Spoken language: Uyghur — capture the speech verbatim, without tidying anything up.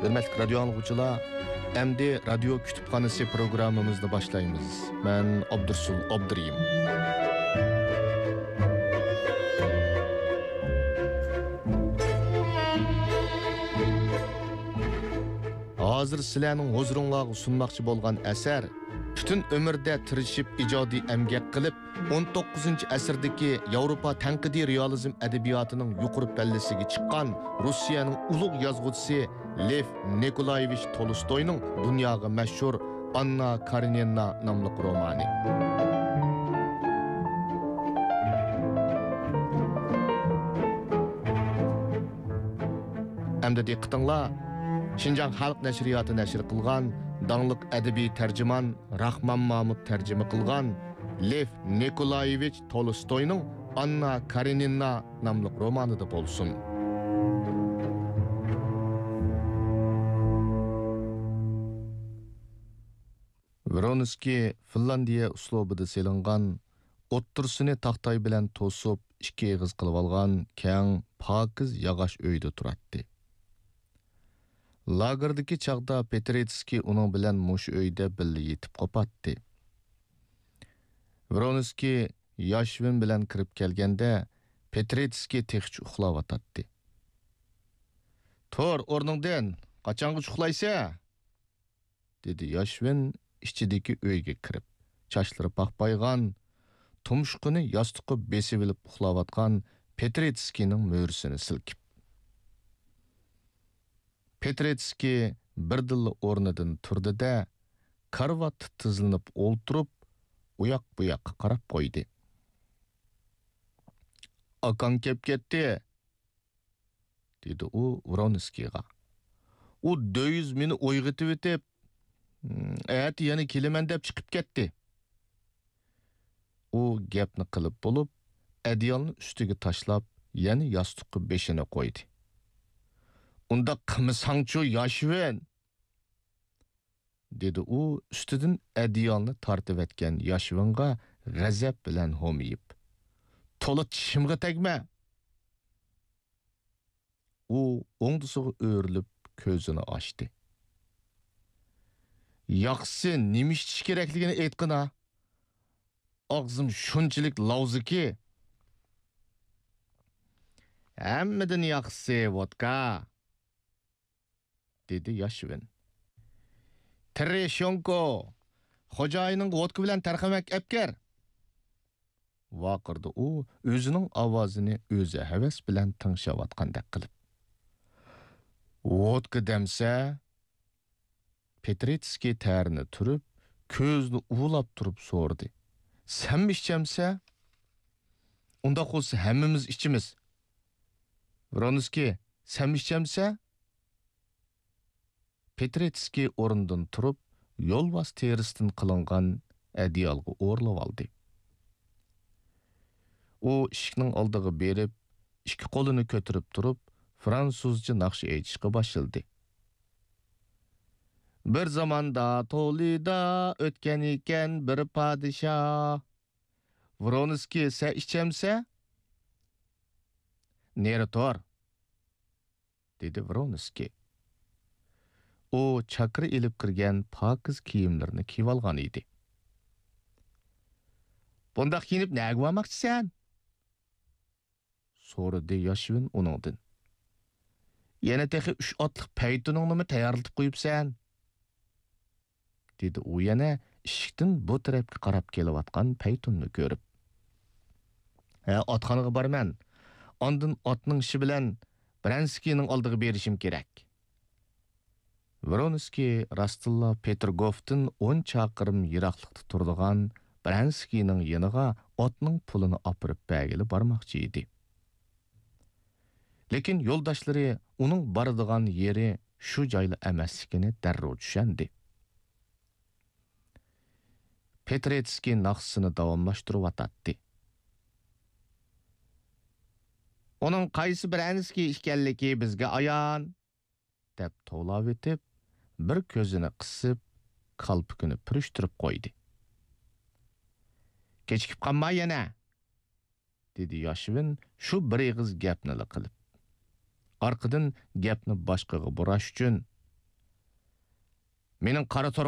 ھۆرمەتلىك رادىيو ئاڭلىغۇچىلار، ئەمدى رادىيو كۇتۇپخانىسى پروگراممىمىزنى باشلايمىز. مەن ئابدۇرسۇل ئابدۇرېھىم. ھازىر سىلەرنىڭ ھۇزۇرۇڭلارغا سۇنماقچى بولغان ئەسەر، پۈتۈن ئۆمرىدە تىرىشىپ ئىجادىي ئەمگەك قىلىپ، ئون توققۇزىنچى ئەسىردىكى ياۋروپا تەنقىدىي رېئالىزم ئەدەبىياتىنىڭ يۇقىرى پەللىسىگە چىققان روسىيەنىڭ ئۇلۇغ يازغۇچىسى لېف نىكولايېۋىچ تولستوينىڭ دۇنياغا مەشھۇر ئاننا كارېنىنا ناملىق رومانى. ئەمدى دىققىتىڭلار شىنجاڭ خەلق نەشرىياتى نەشر قىلغان داڭلىق ئەدەبىي تەرجىمان راخمان مامۇت تەرجىمە قىلغان لېف نىكولايېۋىچ تولستوينىڭ ئاننا كارېنىنا ناملىق رومانىدا بولسۇن. ۋرونسكىي فىنلاندىيە ئۇسلۇبىدا سېلىنغان، ئوتتۇرىسىنى تاختاي بىلەن توسۇپ، ئىككى ئېغىز قىلىۋالغان كەڭ، پاكىز ياغاچ ئۆيدە تۇراتتى. لاگېردىكى چاغدا پېترېتسكىي ئۇنىڭ بىلەن مۇشۇ ئۆيدە بىللە يېتىپ قوپاتتى. ۋرونسكىي ياشۋىن بىلەن كىرىپ كەلگەندە، پېترېتسكىي تېخىچە ئۇخلاۋاتاتتى. «تۇر، ئورنۇڭدىن! قاچانغىچە ئۇخلايسەن؟» دېدى ياشۋىن ئىچىدىكى ئۆيگە كىرىپ، چاچلىرى پاخپايغان، تۇمشۇقىنى ياستۇققا بېسىۋېلىپ ئۇخلاۋاتقان پېترېتسكىينىڭ مۈرىسىنى سىلكىپ. پېترېتسكىي بىردىنلا ئورنىدىن تۇردى-دە، كارىۋاتتا تىزلىنىپ ئولتۇرۇپ، ئۇياق-بۇياققا قاراپ قويدى. «ئاكاڭ كەپ كەتتى!» دېدى ئۇ ۋرونسكىيغا. «ئۇ دۆيۈز مېنى ئويغىتىۋېتىپ، ئەتە يەنە كېلىمەن دەپ چىقىپ كەتتى.» ئۇ گەپنى قىلىپ بولۇپ، ئەدىيالنى ئۈستىگە تاشلاپ، يەنە ياستۇققا بېشىنى قويدى. «ئۇنداق قىلمىساڭچۇ، ياشۋىن!» دېدى ئۇ ئۈستىدىن ئەدىيالنى تارتىۋەتكەن ياشۋىنغا غەزەپ بىلەن ھومىيىپ. «تولا چىشىمغا تەگمە!» ئۇ ئوڭدىسىغا ئۆرۈلۈپ كۆزىنى ئاچتى. «ياخشىسى نېمە ئىچىش كېرەكلىكىنى ئېيتقىنا! ئاغزىم شۇنچىلىك لاۋزىكى.» «ھەممىدىن ياخشىسى ۋودكا!» دېدى ياشۋىن. «تېررېشونكو، خوجايىنىڭغا ۋودكا بىلەن تەرخەمەك ئەپ كىر!» ۋارقىرىدى ئۇ ئۆزىنىڭ ئاۋازىنى ئۆزى ھەۋەس بىلەن تىڭشاۋاتقاندەك قىلىپ. «ۋودكا دەمسە؟» پېترېتسكىي تەرىنى تۈرۈپ، كۆزىنى ئۇۋىلاپ تۇرۇپ سورىدى. «سەنمۇ ئىچەمسە؟ ئۇنداق بولسا ھەممىمىز ئىچىمىز. ۋرونسكىي، سەنمۇ ئىچەمسە؟» پېترېتسكىي ئورنىدىن تۇرۇپ، يولۋاس تېرىسىدىن قىلىنغان ئەدىيالغا ئورىلىۋالدى. ئۇ ئىشىكنىڭ ئالدىغا بېرىپ، ئىككى قولىنى كۆتۈرۈپ تۇرۇپ، فرانسۇزچە ناخشا ئېيتىشقا باشلىدى. «بىر زاماندا تولىدا ئۆتكەن ئىكەن بىر پادىشاھ. ۋرونسكىي، سەن ئىچەمسە؟ نېرى تۇر!» دېدى ۋرونسكىي. ئۇ چاكىرا ئېلىپ كىرگەن پاكىز كىيىملىرىنى كىيىۋالغان ئىدى. «بۇنداق كىيىنىپ نەگە بارماقچىسەن؟» سورىدى ياشۋىن ئۇنىڭدىن. «يەنە تېخى ئۈچ ئاتلىق پەيتۇنۇڭنىمۇ تەييارلىتىپ قويۇپسەن؟» دېدى ئۇ يەنە ئىشىكتىن بۇ تەرەپكە قاراپ كېلىۋاتقان پەيتۇننى كۆرۈپ. «ھە، ئاتخانىغا بارىمەن. ئاندىن ئاتنىڭ ئىشى بىلەن برەنسكىينىڭ ئالدىغا بېرىشىم كېرەك.» ۋرونسكىي راستتىنلا پېتىرگوفتىن ئون چاقىرىم يىراقلىقتا تۇرىدىغان برەنسكىينىڭ يېنىغا ئاتنىڭ پۇلىنى ئاپىرىپ بەرگىلى بارماقچى ئىدى. لېكىن يولداشلىرى ئۇنىڭ بارىدىغان يېرى شۇ جايلا ئەمەسلىكىنى دەررۇ چۈشەندى. پېترېتسكىي ناخشىسىنى داۋاملاشتۇرۇۋاتاتتى. «ئۇنىڭ قايسى برەنسكىي ئىكەنلىكى بىزگە ئايان!» دەپ توۋلاۋېتىپ، بىر كۆزىنى قىسىپ، كالپۇكىنى پۈرۈشتۈرۈپ قويدى. «كېچىكىپ قالما يەنە!» دېدى ياشۋىن شۇ بىر ئېغىز گەپنىلا قىلىپ. ئارقىدىن گەپنى باشقىغا بۇراش ئۈچۈن، مېنىڭ قارا